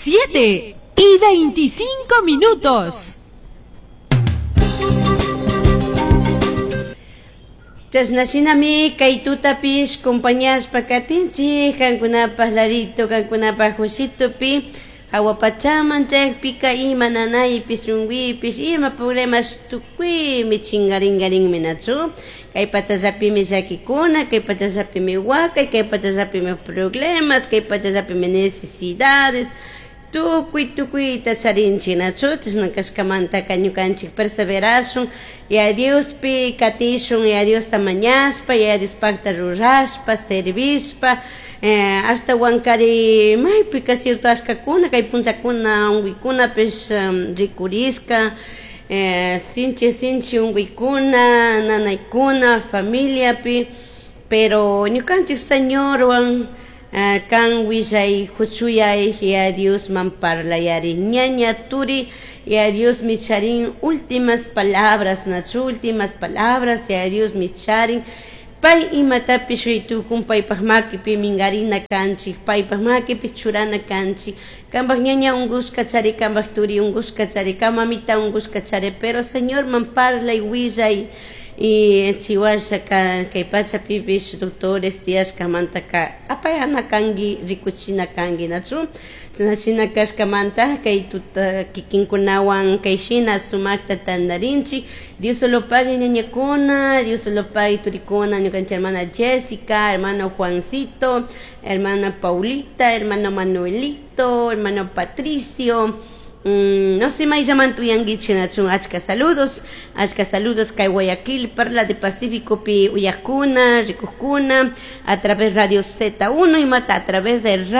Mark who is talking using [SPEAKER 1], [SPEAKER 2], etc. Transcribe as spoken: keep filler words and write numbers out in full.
[SPEAKER 1] Siete y veinticinco minutos.
[SPEAKER 2] Chashnashinami kay tutapish compañashpa katinchik kankunapaj ladito kankunapaj hushitupi hawa pachaman chaypika ima nanaypish chunguipish ima problemas tukuymi chingaringarinmi nachu kay pachallapimi llakikuna kay pachallapimi wakay kay pachallapimi problemas kay pachallapimi necesidades tukuy tukuyta charinchik nachu chashna kashkamantaka ñukanchik perseverashun Yaya Diospi katishun Yaya Diosta mañashpa Yaya Diospakta rurashpa servishpa eh, ashtawankari maypika cierto ashkakuna kay punllakuna unkuykunapish um, rikurishka eh, sinchi sinchi unkuykuna nanaykuna familiapi pero ñukanchik Señorwan uh, kan willay huchuyay Yaya Diosman parlayari ñaña turi Yaya Dios micharin últimas palabras nachu últimas palabras Yaya Dios micharin pay imatapish tukun paypaj makipi minkarina kanchik paypaj makipi churana kanchik kanpaj ñaña unkushka chari kanpaj turi unkushka chari kan mamita unkushka chari pero Señorman parlay willay y chiwashaka kay pachapipish doctores tiyashkamantaka apayana kanki rikuchina kanki nachu chashna kashkamanta kay tuta kikinkunawan kay shina sumakta tantarinchik Dios lo pague ñañakuna Dios lo pague turikuna ñukanchik hermana Jessica hermano Juancito hermana Paulita hermano Manuelito hermano Patricio Mm, no sé mayllaman tuyankichik nachun achka saludos achka saludos kay Guayaquil Perla de Pacífico pi uyakuna rikukuna a través Radio Z uno y mata a través de radio